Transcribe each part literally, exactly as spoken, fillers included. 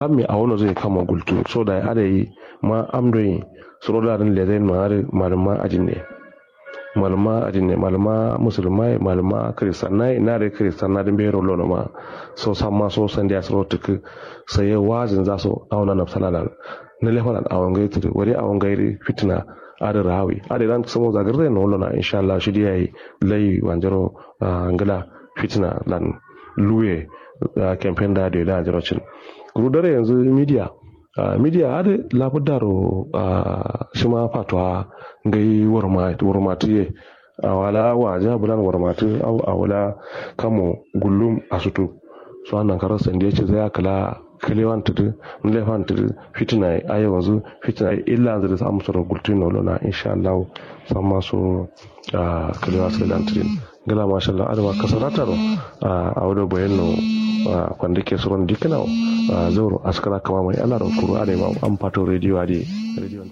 Amme awo nozǝ ye kammo gultu so dayi adai ma am doi. Suro da dǝn lezain ma adǝ malǝm ma ajin ne. Malǝm ma ajin ne malǝm ma musulum ma ye malǝm ma kristan na ye na dai kristan na dǝ mbeyi ro lono ma. So samma so sandiya suro tǝkkǝ. Sai ye wazin za so awo na nabsana lan. Nǝ lefa lan awo ngai tǝdǝ wari awo ngai dǝ fitina. Adǝ rawi adǝ lan sǝmo zagǝrre no lona inshallah shi dǝ yayi. Lai wanjaro ngla fitina lan luwe. Campaign da doi da jiro cin. Kuru dare yanzu media. Media adǝ labuddaro. Shima fatuwa ngai warmatu ye. Awala waja bulan warmatu awala kamo gullum asutu. So annan karo sandiye ci zai akala kalewan tudu nlefan tudu. Fitina ye ayo wanzu fitina ye illa nzuri samu soro gultu no lona inshallah. Samma so kalewa sai lan tudin. Ngla mashallah adama kasarata ro. Awo do boyen no. Kwandike suron dikna wo. Zauro askara kama mai alaro kuru adai ma am fato radio adi. Radio.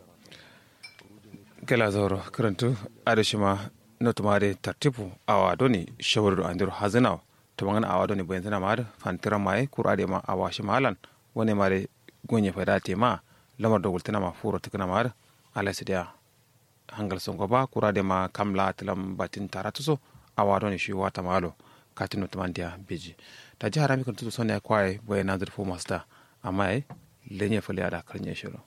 Ngla zauro kǝrantu adai shima. Notuma adai tartibu awa doni shawari do andiro hazǝna wo. Tumangana awa doni boyen zǝna ma adǝ fantiran ma ye kuru adai ma awa shima alan. Wane ma dai gonye faida tema. Lamar do gultǝna ma furo tǝkǝna ma adǝ. Alai sidiya. Hangal songo ba kura de ma kam la tǝlam batin taratu so. Awa doni shi wata malo. Katino tǝmandiya beji. Taji harami kǝn tutu soniya kwaye boye nanzǝ dǝ fu masta. Amma ye lenye fǝle ada kǝrnye shiro.